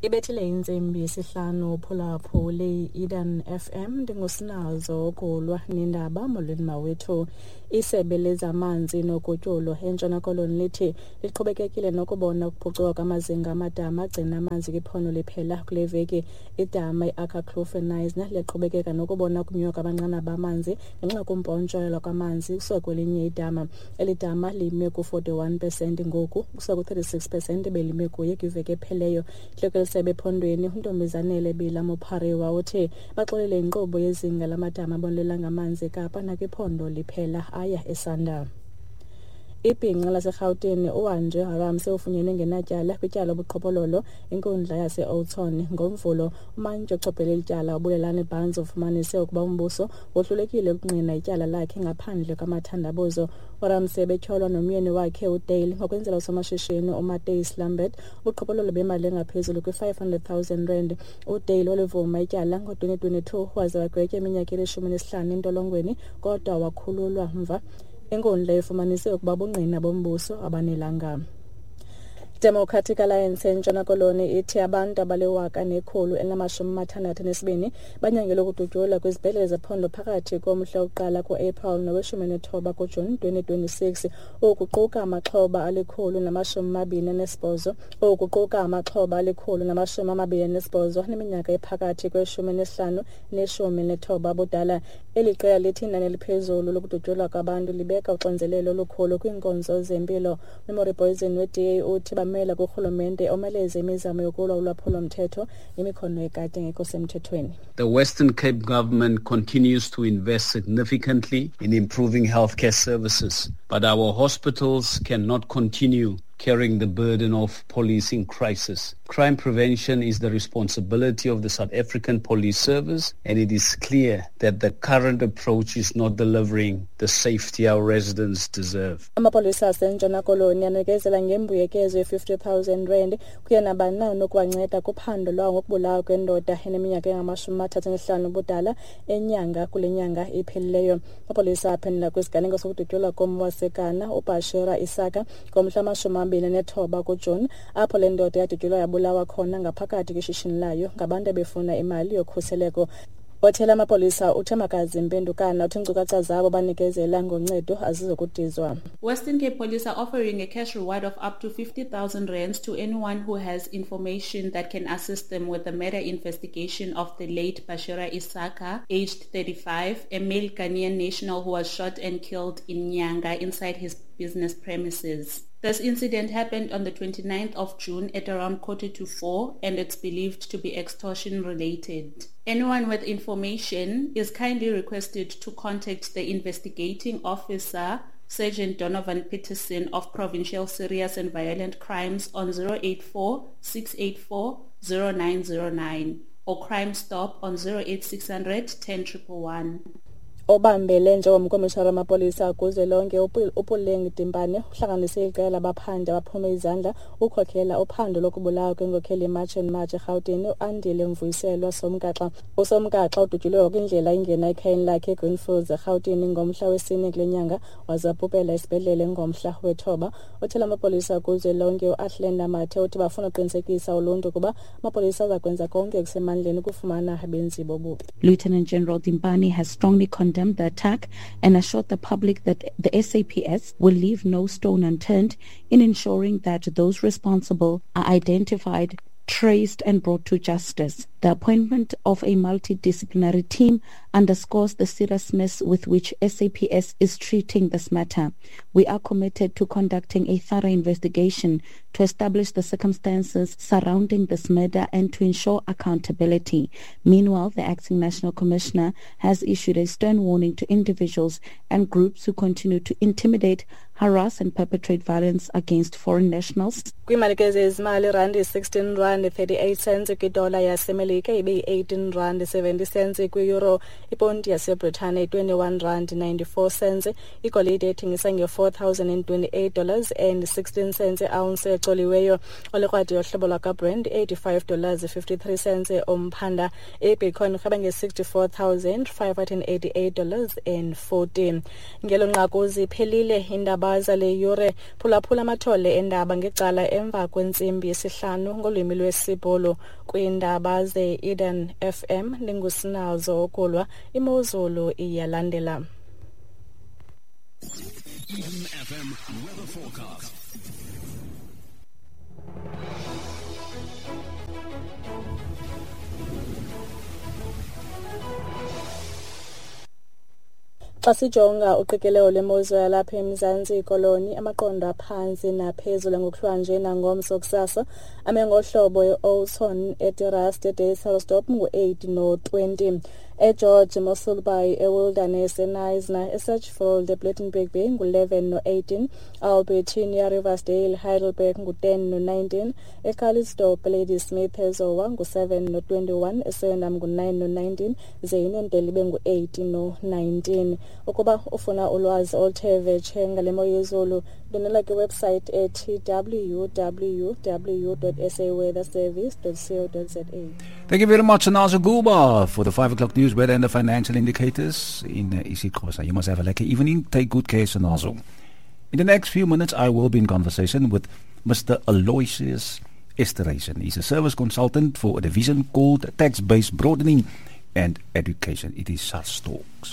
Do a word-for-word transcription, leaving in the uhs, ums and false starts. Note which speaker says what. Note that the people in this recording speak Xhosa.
Speaker 1: Ibethile intsimbi yesihlanu. Phulaphuli Eden F M, ndingusinazo kulwa nendaba. Molweni mawethu. Isebe lezamanzi nogutyulo eNtshona Koloni lithi liqhubekekile nokubona ukuphucuka kwamazinga amadama agcina amanzi kwiphondo liphela. Kule veki idama i-Akkerkloof eKnysna liyaqhubekeka nokubona ukunyuka kwamanqanaba amanzi ngenxa yokumpontshelwa kwamanzi kusuka kwelinye idama. Eli dama lime ku-forty-one pesenti ngoku kusuka ku-thirty-six pesenti belime kuye kwiveki epheleyo. Intloko yesebe ephondweni uNtombizanele Bila Mopariwa uthi baxolele inkqubo yezinga lamadama abonelela ngamanzi eKapa nakwiphondo liphela aya esanda. Ibhinqa laseRhawutini uAndre Harmse ufunyenwe ngenatyala kwityala lobuqhophololo inkundla yase-Oudtshoorn ngoMvulo. Umantyi ochophele eli tyala uBulelani Barnes ufumanise ukuba umbuso wohlulekile ukungqina ityala lakhe ngaphandle kwamathandabuzo. URamsey betyholwa nomyeni wakhe uDale ngokwenzela usomashishini uMatthys Lambert ubuqhophololo bemali engaphezulu kwi-five hundred thousand rand. UDale walivuma ityala ngo-twenty twenty-two waze wagwetywa iminyaka elishumi nesihlanu entolongweni, kodwa wakhululwa mva. Inkundla ifumanise ukuba ubungqina bombuso abanelanga. Democratic Alliance eNtshona Koloni ithi abantu abaliwaka nekhulu elinamashumi amathandathu nesibini banyangelwe ukudutyulwa kwizibhedlele zephondo phakathi komhla wokuqala ku-April noweshumi nethoba kuJuni twenty twenty-six. Oku kuquka amaxhoba alikhulu namashumi amabini anesibhozo oku kuquka amaxhoba alikhulu namashumi amabini anesibhozo aneminyaka ephakathi kweshumi nesihlanu neshumi nethoba abudala. Eli qela lithi inani eliphezulu lokudutyulwa kwabantu libeka uxinzelelo olukhulu kwiinkonzo zempilo. Memory Poison we-D A uthi bamela kurhulumente omeleze imizamo yokulwa ulwaphulo-mthetho nemikhono yekati engekho semthethweni.
Speaker 2: The Western Cape government continues to invest significantly in improving healthcare services, but our hospitals cannot continue carrying the burden of policing crisis. Crime prevention is the responsibility of the South African Police Service, and it is clear that the current approach is not delivering the safety our residents deserve.
Speaker 1: Amapolisa aseNtshona Koloni anikezela ngembuyekezo ye-fifty thousand rand kuye nabani na onokuwanceda kuphando lwawo ngokubulawa kwendoda eneminyaka engamashumi amathathu anesihlanu ubudala eNyanga kule nyanga iphelileyo. Amapolisa aphendula kwisiganeko sokudutyulwa kommi waseGhana uBashira Isaka ngomhla wamashumi amabini nethoba kuJuni, apho le ndoda yadutyulwa yabulawa khona ngaphakathi kwishishini layo ngabantu ebefuna imali yokhuseleko. Othela amapolisa uThembakazi Mpendukana uthi iinkcukacha zabo banikezela ngoncedo azizokudizwa.
Speaker 3: Western Cape Police are offering a cash reward of up to fifty thousand rands to anyone who has information that can assist them with the murder investigation of the late Bashira Isaka, aged thirty-five, a male Ghanaian national who was shot and killed in Nyanga inside his business premises. This incident happened on the 29th of June at around quarter to four, and it's believed to be extortion related. Anyone with information is kindly requested to contact the investigating officer, Sergeant Donovan Peterson of Provincial Serious and Violent Crimes, on zero eight four six eight four zero nine zero nine or Crime Stop on zero eight six hundred ten one one.
Speaker 1: Obambele njengomkomishara wamapolisa kuzwelonke uPuleng Dimpane uhlanganise iqela labaphandi abaphume izandla ukhokhela uphando lokubulawa kwenkokheli yeMarch and March eRhawutini uAndile Mvuyiselwa Somgaxa. USomgaxa udutyulwe kwindlela ingena ekhayeni lakhe eGreenfields eRhawutini ngomhla wesine kule nyanga, waze wabhubhela esibhedlele ngomhla wethoba. Othela amapolisa kuzwelonke uAthlenda Mathe uthi bafuna uqinisekisa uluntu ukuba amapolisa aza kwenza konke okusemandleni ukufumana abenzi bobubi.
Speaker 4: Lieutenant General Dimpane has strongly condemned the attack and assured the public that the S A P S will leave no stone unturned in ensuring that those responsible are identified, traced and brought to justice. The appointment of a multidisciplinary team underscores the seriousness with which S A P S is treating this matter. We are committed to conducting a thorough investigation to establish the circumstances surrounding this murder and to ensure accountability. Meanwhile, the acting national commissioner has issued a stern warning to individuals and groups who continue to intimidate, harass and perpetrate violence against foreign nationals.
Speaker 1: Kwiimali ke zezimali, irandi sixteen rand thirty-eight cents kwidola yaseMelika, ibe yi-eighteen rand seventy cents kwi-euro, iponti yaseBritane twenty-one rand ninety-four cents, igolide ethengisa nge-four thousand and twenty-eight dollars and sixteen cents ounce ecoliweyo, olikrwadi yohlobo lwakwaBrent eighty-five dollars fifty-three cents umphanda, ibitcoin irhweba nge-sixty-four thousand five hundred and eighty-eight dollars and forty. Ngelo nqaku ziphelile indaba. Iindaba zale yure. Phulaphula amathole endaba ngecala emva kwentsimbi yesihlanu ngolwimi lwesiBhulu. Kwiindaba ze-Eden F M ndingusinazo Okulwa. Imozulu iyalandela.
Speaker 5: Eden F M weather forecast.
Speaker 1: Xa sijonga uqikelelo lwemozulu yalapha eMzantsi Koloni, amaqondo aphantsi naphezulu ngokuhlwanje nangomso kusasa ame ngohlobo e-Oudtshoorn, eTerrace, eDeiselsdorp ngu-eight no-twenty. eGeorge, Mossel Bay, eWilderness, eKnysna, eSedgefield, ePlettenberg Bay ngu-eleven no-eighteen, Albertinia, Riversdale, Heidelberg ngu-ten no-nineteen, eCalitzdorp, Ladysmith, eZowa ngu-seven no-twenty-one, eSwellendam ngu-nine no-nineteen, ze iNondele ibe ngu-eight no-nineteen. Ukuba ufuna ulwazi oluthe vetshe ngale mo yezulu, ndwendwela kwiwebsite ethi w w w dot s a weather service dot co dot z a.
Speaker 6: Thank you very much, Nazo Guba, for the five o'clock news, weather and the financial indicators in isiXhosa. You must have a lekker evening. Take good care, Sinazo. In the next few minutes, I will be in conversation with Mister Aloysius Esterhuizen. He's a service consultant for a division called Tax-Based Broadening and Education. It is SARS Talks.